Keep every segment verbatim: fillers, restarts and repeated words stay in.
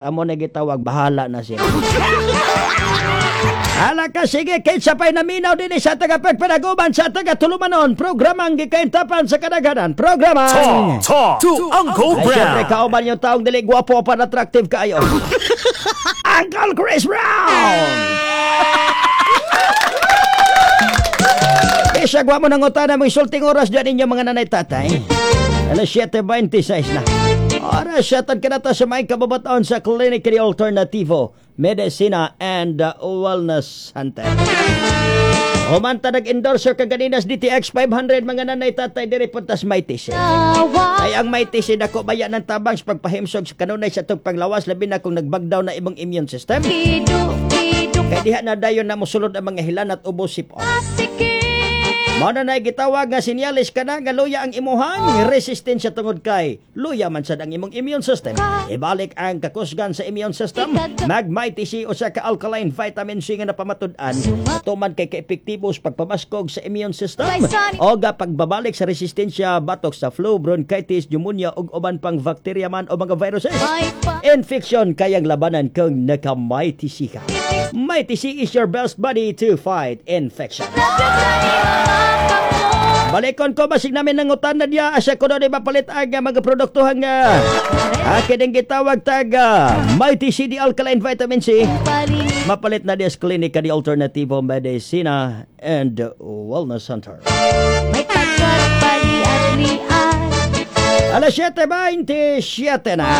Amo na gitawag, bahala na siya. Hala ka, sige, kinsa pa'y naminaw din sa taga pagpanaguman sa taga tulumanon, programang gikaintapan sa kadaghanan, programang Talk, talk to Uncle Ay, syempre, Brown. Kauban yung taong dili gwapo pa attractive kaayo. Uncle Chris Brown! Bisag wa mo nang utana mo isulting oras dyan ninyo mga nanay tatay. Alas siyete bentisiis na. Oras siya ka na to sa may kababataan sa Clinic de Alternativo, Medicina and uh, Wellness Center. Humanta nag-endorser kaganinas D T X five hundred, mga nanay tatay, diri puntas Mighty C. Ay ang Mighty C dako baya ng tabang sa pagpahimsog sa kanunay sa itong panglawas, labi na kung nagbagdaw na imong immune system. Kay diha na dayon na mosulod ang mga hilan at ubos sipon. Mao na nay gitawag nga sinyalis kana nga luya ang imuhang resistensya tungod kay luya man sad ang imong immune system. Ibalik ang kakusgan sa immune system. Mag Mighty C, usa ka alkaline vitamin C nga napamatud-an tuman kay kaepektibo sa pagpamaskog sa immune system o ga pagbabalik sa resistensya batok sa flu, bronchitis, pneumonia ug uban pang bakterya man o mga viruses. Infection kayang labanan kung naka Mighty C ka. Mighty C is your best buddy to fight infection. Balikon ko basig namin ng utan na diya asa ko doon mapalit ang uh, mga produkto nga akin ang gitawag tag uh, Mighty C D Alkaline Vitamin C. Mapalit na diya sa Klinika di Alternativo Medicina and Wellness Center. May pagkat paliad-liad. Alas siyete bentisiete na.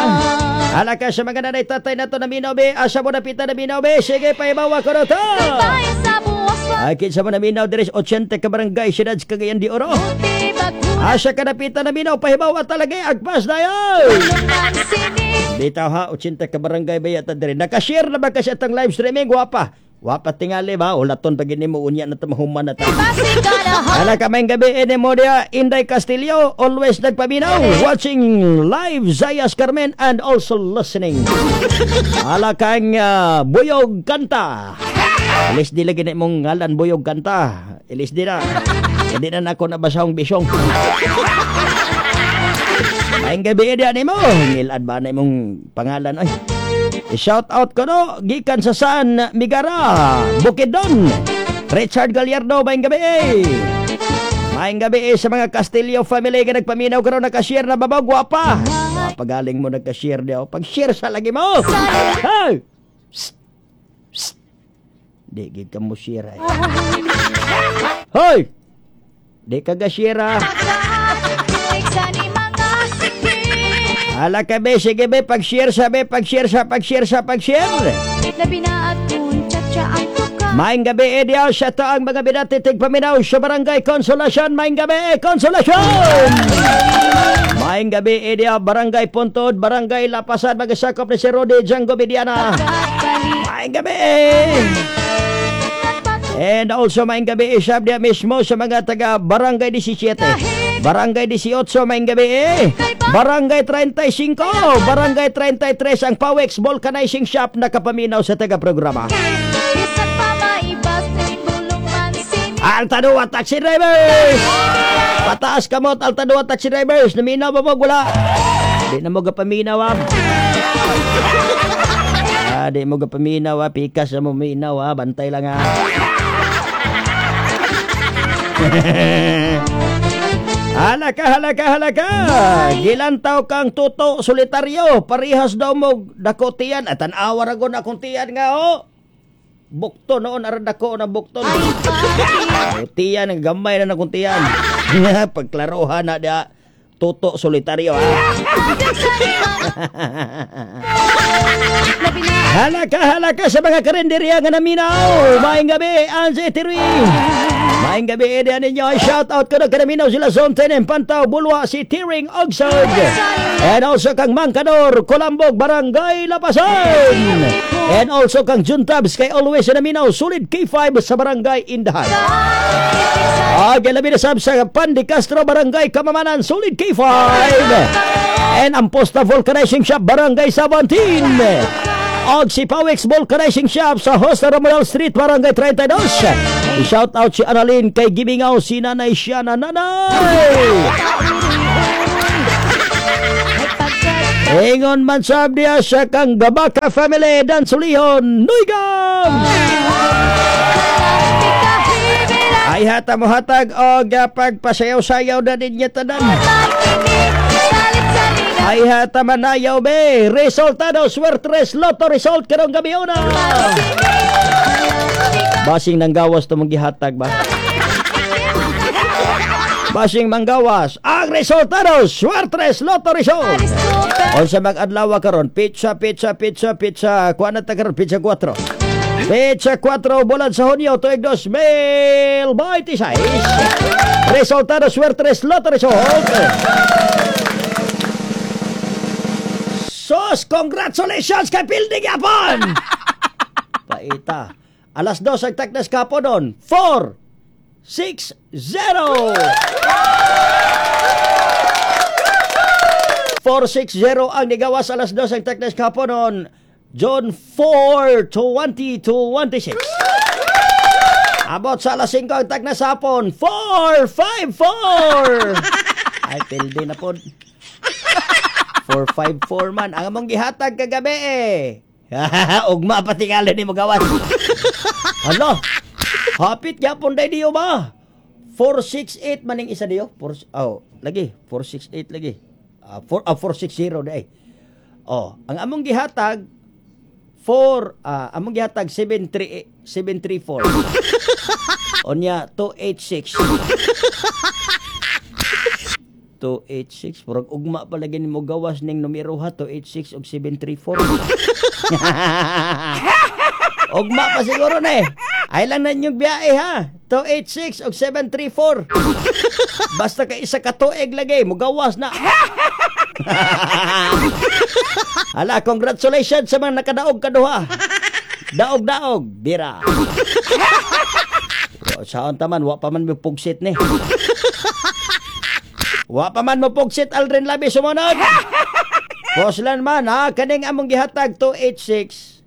Hala ka sa mga nanay tatay na to na minaw be. Asa mo napita na minaw be. Sige, paibawa ko na to. Bayan sa buwas. Ay, kinsa mo naminaw diri sa otsyenta ka barangay, siyudad sa Cagayan de Oro. Puti baguna. Asa ka napita naminaw, pahibawa talaga, agpas na yun. Tulungan sini. Bitaw ha, otsyenta ka barangay ba yata diri. Nakashare na ba kasi atang live streaming? Wapa. Wapa tingali ba? Ulaton pag ini mo unya na tamahuman na ta. Pasigalahan. Ala ka may gabi ini mo diya, Inday Castillo, always nagpaminaw, watching live Zayas Carmen and also listening. Ala kang uh, Buyog Kanta. Ilis di lagi na imong ngalan Buyog Kanta. Ilis di na. Hindi na nako nabasahong bisyong. Maayong gabi diya nimo. Ngilad ba na imong pangalan ay? Shout out ko no gikan sa San Migara, Bukidnon. Richard Gallardo, maayong gabi. Maayong gabi sa mga Castillo family nga nagpaminaw karon, naka-share na babaw gwapa. Pagaling mo nagka-share diyo. Pag-share sa lagi mo. Hey! Psst. Psst. Di gid ka mo share ay. Hoy! Di ka ga-share ah. Sani mga sikip. Hala ka be, sige be, pag-share sa be, pag-share sa, pag-share sa, pag-share. Labi na at kung tsa ang tuka. Maayong gabi, Edia, siya to ang mga binatitig paminaw sa Barangay Consolacion. Maayong gabi, Consolacion! Maayong gabi, Edia, Barangay Puntod, Barangay Lapasan, magasakop ni si Rodi Django Mediana. Maayong gabi! And also, maayong gabi, isab diya mismo sa mga taga Barangay labing-siyam. Barangay labing-walo, maayong gabi eh. Barangay trentay singko, Barangay trentay tres, ang Pawex Vulcanizing Shop nakapaminaw sa taga-programa. Bisan pa maibas bulong man sini. Altadua Taxi Drivers! Pataas kamot, Altadua Taxi Drivers! Naminaw ba mo? Wala! Di na mo gapaminaw ah. Ah, di mo gapaminaw ah. Pikas na mo minaw ah. Bantay lang ah. Halaka, halaka, halaka! Gilantaw kang tuto solitaryo. Parihas daw mo dako tiyan. At tanawa ra gud akong tiyan nga oh. Bukto noon aran dako na bukton. O, tiyan ang gamay na akong tiyan. Pagklarohan na dia tuto solitaryo ah. Labi na Halaka, halaka sa mga karinderya nga naminaw. Maayong gabi, Anze Tirwi. Maayong gabi, Eddie ninyo. Shout out ko na kanaminaw sila Zone ten, Pantaw, Bulwa, si Tiring Ogsog. And also kang Mangkador, Colambog, Barangay Lapasan. And also kang Juntabs, kay always na naminaw, Solid K five sa Barangay Indahan. Okay, labi na sab sa Pandi Castro, Barangay Kamamanan, Solid K five. And ang Posta Vulcanizing Shop, Barangay seventeen. Og si Pawex Vulcanizing Shop sa Hosta Romuald Street, Barangay thirty-two. I-shout out si Annalyn kay Gimingaw, si Nanay siya na nanay. May pagkat Ingon man sab diya sa kang Gabaka family dan Sulihon Nuygam. Ay hata mo hatag og pagpasayaw-sayaw na ninyo tanan. Ay hata manayaw be. Resultado Swertres Lotto result karong gabi una. Basing nang gawas to gihatag ba? Basing manggawas ang resultado Swertres Lotto result. Unsa mag-adlaw karon? Pizza, pizza, pizza, pizza. Kuha na ta karon pizza four. Pizza four bulan sa Hunyo tuig two thousand twenty-six. Resultado Swertres Lotto result. Sos, congratulations kay Pildi gyapon. Paita. Alas dos ang taknas kapo doon. four six zero. four six zero ang nigawas alas dos ang taknas kapo noon. June four, twenty twenty-six. Abot sa alas singko ang taknas hapon. four five four. Ay, pildi na po. four five four man. Ang among gihatag kagabi eh. Ugma patingali ni mo gawas. Hala. Hapit gyapon day diyo ba? four six eight maning isa diyo. four, oh, lagi four six eight lagi. Uh, four, uh, four six zero day. Oh, ang among gihatag four, uh, among gihatag seven three seven three four. Onya two eight six. two eight six murag ugma pa lagi nimo gawas ning numero ha, two eight six og seven three four. Ugma pa siguro na eh. Ay lang na inyong biyahe ha. two eight six og seven three four. Basta ka isa ka tuig lagi, mugawas na. Hala, congratulations sa mga nakadaog kaduha. Daog-daog, bira. Saan taman, wa pa man mo pugsit ni. Wa pa man mo pugsit, Aldrin Labi sumunod. Poslan man ha, kaning among gihatag two eight six.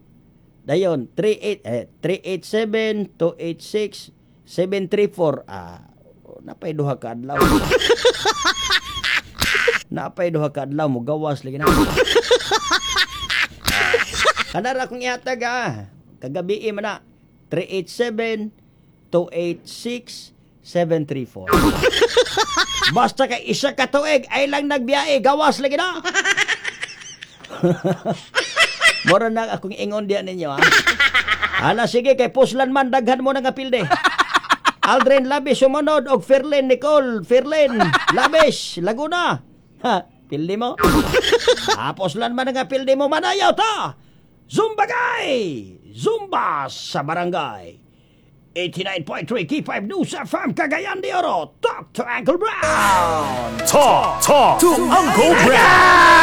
Dayon, three eight, eh, three eight seven, two eight six, seven three four. Ah, napay duha ka adlaw. Napay duha ka adlaw, mugawas lagi na. Kanara akong ihatag ah. Kagabi man na. three eight seven, two eight six, seven three four. Basta kay isa ka tuig ay lang nagbiyahe, gawas lagi na. Mora na akong ingon diyan ninyo ha. Hala sige kay puslan man daghan mo na nga pilde. Aldrin Labis sumunod og Ferlin Nicole Ferlin Labis Laguna. Ha, pilde mo. Tapos lan man nga pilde mo manayaw ta. Zumba gay! Zumba sa barangay. eighty-nine point three K five News F M Cagayan de Oro. Talk to Uncle Brown. Talk, talk to Uncle Brown.